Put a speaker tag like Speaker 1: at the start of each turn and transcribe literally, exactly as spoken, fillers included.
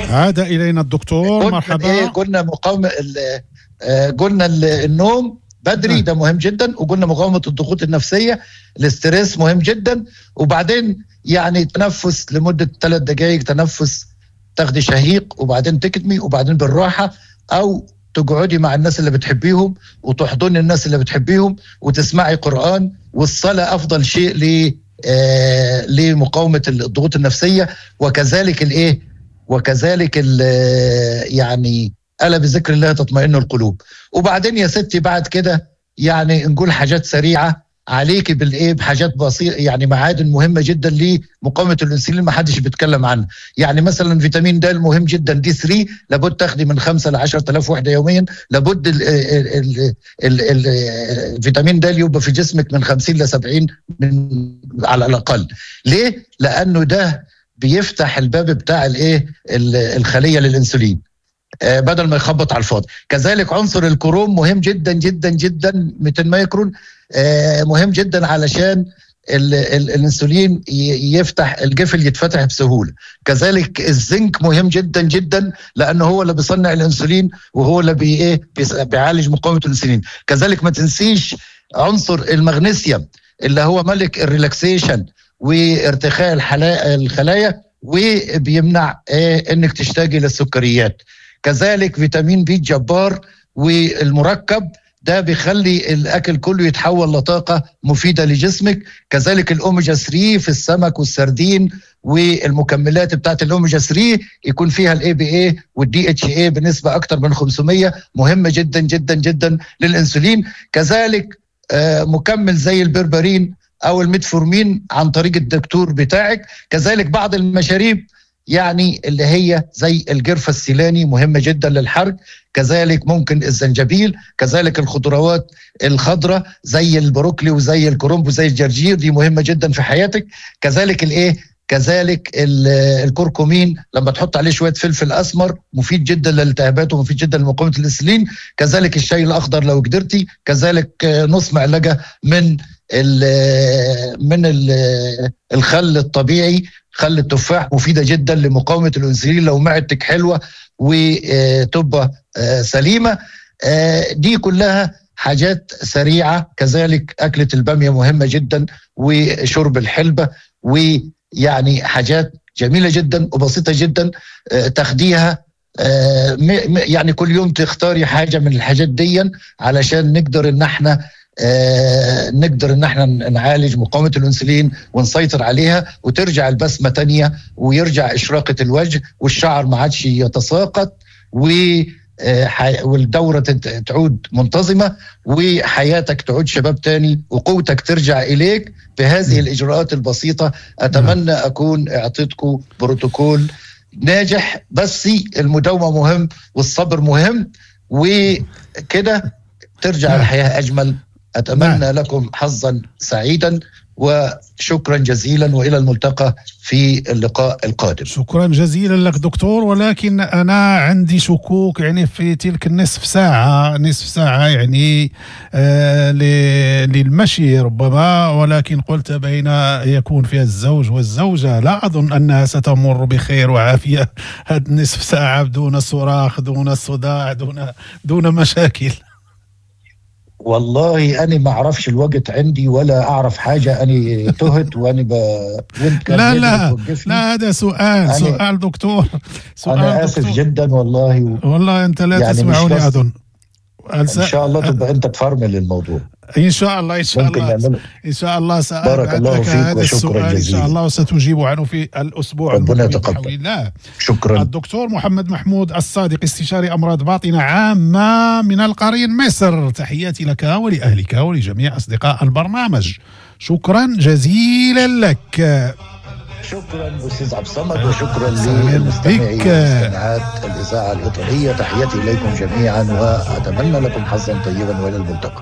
Speaker 1: عاد إلينا الدكتور. مرحبا.
Speaker 2: إيه قلنا مقاومة، قلنا النوم بدري ده مهم جدا، وقلنا مقاومة الضغوط النفسية، ال stress مهم جدا، وبعدين يعني تنفس لمدة ثلاث دقائق، تنفس تاخدي شهيق وبعدين تكتمي وبعدين بالراحة، أو تقعدي مع الناس اللي بتحبيهم وتحضني الناس اللي بتحبيهم وتسمعي قرآن. والصلاة أفضل شيء ل آه لمقاومة الضغوط النفسية، وكذلك الإيه وكذلك ال يعني ألا بذكر الله تطمئن القلوب. وبعدين يا ستي بعد كده يعني نقول حاجات سريعة عليك بالإيه، بحاجات بسيطة، يعني معادن مهمة جدا لمقاومة الأنسولين ما حدش بيتكلم عنها. يعني مثلا فيتامين د مهم جدا، دي ثلاثة لابد تاخدي من خمسة ل عشرة آلاف وحدة يوميا، لابد ال ال ال ال الفيتامين د يبقى في جسمك من خمسين ل سبعين من على الأقل. ليه؟ لأنه ده بيفتح الباب بتاع الإيه الخلية للأنسولين بدل ما يخبط على الفاضي. كذلك عنصر الكروم مهم جدا جدا جدا، مئتين مايكرون مهم جدا علشان ال ال الانسولين يفتح الجفل يتفتح بسهولة. كذلك الزنك مهم جدا جدا لانه هو اللي بيصنع الانسولين وهو اللي بي ايه بيعالج مقاومة الانسولين. كذلك ما تنسيش عنصر المغنيسيوم اللي هو ملك ال relaxation وارتخاء الخلايا وبيمنع إيه انك تشتاقي للسكريات. كذلك فيتامين بي الجبار والمركب ده بيخلي الأكل كله يتحول لطاقة مفيدة لجسمك. كذلك الأوميجا ثلاثة في السمك والسردين والمكملات بتاعت الأوميجا ثلاثة يكون فيها ال EPA وال DHA بنسبة أكتر من خمسمية، مهمة جدا جدا جدا للإنسولين. كذلك مكمل زي البربرين أو الميتفورمين عن طريق الدكتور بتاعك. كذلك بعض المشاريب يعني اللي هي زي الجرفة السيلاني مهمة جدا للحرق، كذلك ممكن الزنجبيل، كذلك الخضروات الخضراء زي البروكلي وزي الكرنب وزي الجرجير، دي مهمة جدا في حياتك. كذلك الايه كذلك الكركمين لما تحط عليه شوية فلفل أسمر مفيد جدا للالتهابات ومفيد جدا لمقاومة الأنسولين. كذلك الشاي الأخضر لو قدرتي، كذلك نص معلقة من ال من ال الخل الطبيعي، خل التفاح مفيدة جدا لمقاومة الأنسولين لو معدتك حلوة وتبقى سليمة. دي كلها حاجات سريعة. كذلك أكلة البامية مهمة جدا وشرب الحلبة، ويعني حاجات جميلة جدا وبسيطة جدا تاخديها يعني كل يوم تختاري حاجة من الحاجات دي علشان نقدر ان احنا آه نقدر ان احنا نعالج مقاومة الانسولين ونسيطر عليها، وترجع البسمة تانية ويرجع إشراقة الوجه والشعر ما عادش يتساقط والدورة تعود منتظمة وحياتك تعود شباب تاني وقوتك ترجع إليك بهذه الإجراءات البسيطة. أتمنى أكون أعطيتكم بروتوكول ناجح، بس المداومة مهم والصبر مهم، وكده ترجع الحياة أجمل. أتمنى نعم. لكم حظا سعيدا وشكرا جزيلا، وإلى الملتقى في اللقاء القادم.
Speaker 1: شكرا جزيلا لك دكتور، ولكن أنا عندي شكوك يعني في تلك النصف ساعة، نصف ساعة يعني آه للمشي ربما، ولكن قلت بين يكون فيها الزوج والزوجة، لا أظن أنها ستمر بخير وعافية هذه النصف ساعة دون صراخ دون صداع دون دون مشاكل.
Speaker 2: والله أنا ما أعرفش الوقت عندي ولا أعرف حاجة، أنا تهت وأنا ب...
Speaker 1: لا لا لا، هذا سؤال أنا... سؤال دكتور، سؤال
Speaker 2: أنا آسف دكتور. جدا والله و...
Speaker 1: والله أنت لا يعني تسمعني أظن.
Speaker 2: إن شاء الله تبقى أنت تفرمل الموضوع
Speaker 1: إن شاء الله. إن شاء الله إن شاء الله
Speaker 2: بارك الله فيك وشكرا جزيلا.
Speaker 1: إن شاء الله وستجيب عنه في الأسبوع
Speaker 2: ربنا يتقبل. شكرا.
Speaker 1: الدكتور محمد محمود الصادق، استشاري أمراض باطنة عامة من القرين مصر، تحياتي لك ولأهلك ولجميع أصدقاء البرنامج، شكرا جزيلا لك.
Speaker 2: شكرا أستاذ عبد الصمد، وشكرا للمستمعين والمستمعات الإذاعة الإيطالية، تحياتي إليكم جميعا وأتمنى لكم حظا طيبا وإلى الملتقى.